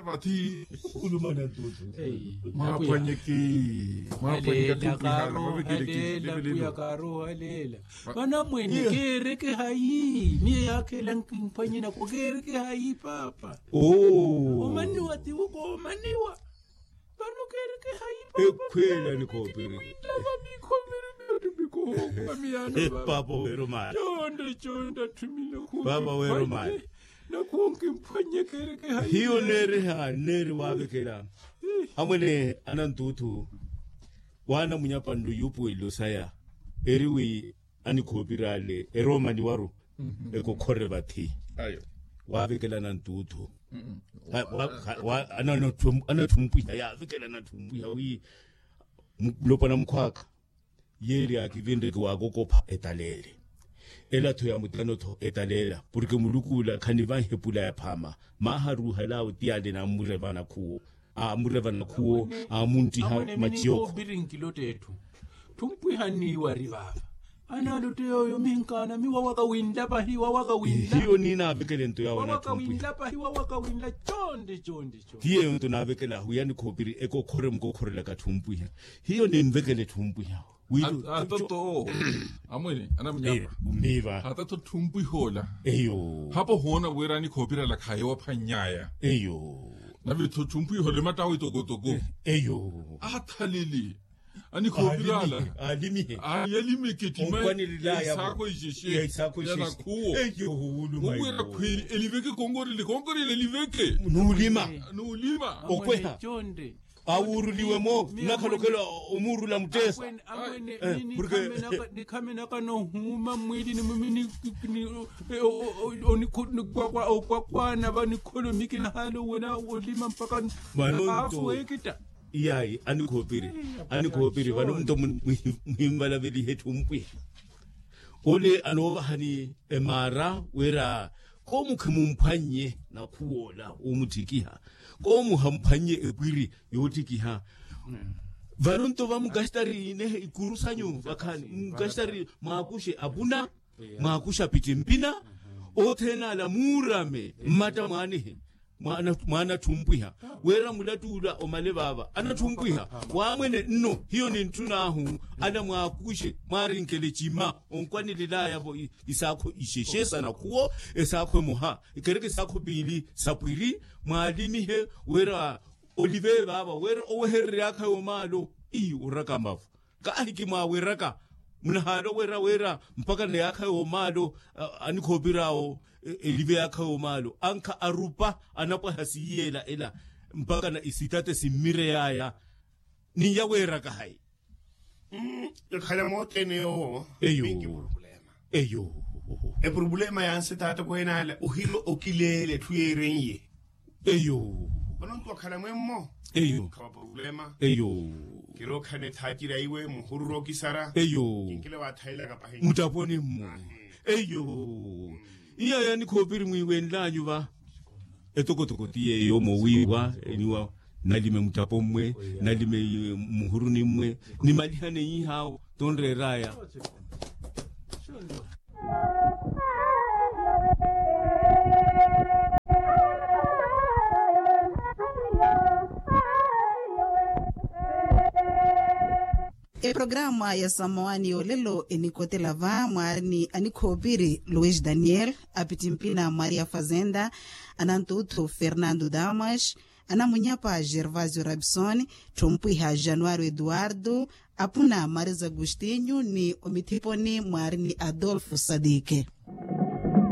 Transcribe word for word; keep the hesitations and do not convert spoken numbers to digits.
Vathi. Khulumana ntuuthu. Mwaphwanyeke. Mwaphwanyeke. Aleela kaaroha aleela. Vanamwene keereke hayi? Miyo yaakhela nkhimphwanyena ko keereke hayi paapa? Omaniwa tiwuko omaniwa. Vano keereke hayi paapa? Ekhwela nikhoopiri. Paapa weerumali. Chonde chonde athumile khumphwanye. Paapa weerumali. Nakhuwo nkimphwanye keereke hayi? Hiyo neeriha neeri waavekela. Amwene anantuuthu waanamunya panlu yuupuwelelo saya eri wi anikhoopiri ale eroomaniwaru ekokhore vathi. Waavekela anantuuthu. Anathumpwiha yaavekela anathumpwiha wi mulopwana mukhwaaka. Yeeri akivinreke waakokopha etaleele. Ela-tho ya mutano-tho etaleela porke muluku ola khanivanhe epula ya phaama. Maaha ruuhalaawe ti ale nammurevana khuwo. Aamurevana khuwo aamunttiha maciyo. Thumpwiha nniiwari vaava. Analotte yooyo minkaana miwawaka winla pahi wawaka winla. Hiyo niinaavekele nto yaawo anathumpwiha. Wawaka winla pahi wawaka winla. Chonde chonde. Ti yeeyo nto naavekela ahu yanikhoopiri ekokhore mukokhorelaka thumpwiha. Hiyo ninvekele thumpwiha. Hata tto amwene anamunyapa. Hata tto thumpwiha ola. Eyo. Hapo hoona wira anikhoopiri ala khaayowaphwannyaya. Eyo. Nave tho thumpwiha ola emattawo itokotoko. Eyo. Athalele anikhoopiri ala. Alimihe. Alimike tima. Isaakho ixexe ya nakhuwo. Eyo. Owira khweli eliveke konkorele konkorele eliveke. Nuulima. Nuulima. Okweha. Awuuruliwe-mo nnakhalokela omuurula mutteesa. Nikhamenaka nohuuma mmwiili ni mumini. Okwakwaana va nikholomiki nahaala owena olima mpakha. Vano nto afuwekitta. Iyayi anikhoopiri. Anikhoopiri vano nto muhimvalavelihe thumpwiha. Ole anoovahani emaara wira koomu khimumphwannye nakhuw'ola oomuttikiha. Koomu hamphwannye epwiri yoottikiha. Vano nto vamunkasitari nehe ikuru sanyu vakhaani munkasitari mwaakuxe apuna mwaakuxe apittimpina. Othene ala muurame mmatta mwaanihe. Mwaana thumpwiha wira mulattuula omale vaava anatthumpwiha. Waamwene nno hiyo nintthun'ahu ana mwaakuxe mwaarinkele cima onkwanelel'aya-vo isaakho ixexe sa nakhuwo esaakho emoha ekereke esaakho piili sapwiri. Mwaalimihe wira olive vaava wira oweherery'akhayi omaalo. Iyo oraka mavo kaahikimwaawiraka munahaala owera wira mpakha na yaakha yoomaalo. Anikhoopir'awo elive yaakha yoomaalo ankha arupa anapwaha siiyeela ela mpakha na isitate simmirey'aya. Ninya weeraka hayi? Ekhala moothene yoowo eyo. Epurupulema ya nsitaata kwenaala ohirwa okileela etthu yeeren'ye. Eyo. Vano nto wakhala mwemmo eyo. Khawa purupulema eyo. Kirookhala ethaaciri aiwe muhururu okisara eyo. Kinkile waathailaka pahi muttaponi mmwe eyo. Iya yanikhoopiri mwiiwenlanyu va etokotoko ti yeeyo mowiiwa eniwa nalime muttapo mmwe nalime muhuruni mmwe nimalihane iihaawo tonreer'aya. Eprograma ya samowani y'olelo enikotela va mwaari ni anikhoopiri luis daniel, apittimpina maria fazenda, anantuuthu fernando damas, anamunyapa gervasio rabison, tthumpiha januario eduardo, apuna maris agostinho ni omithiponi mwaari ni adolfo sadike.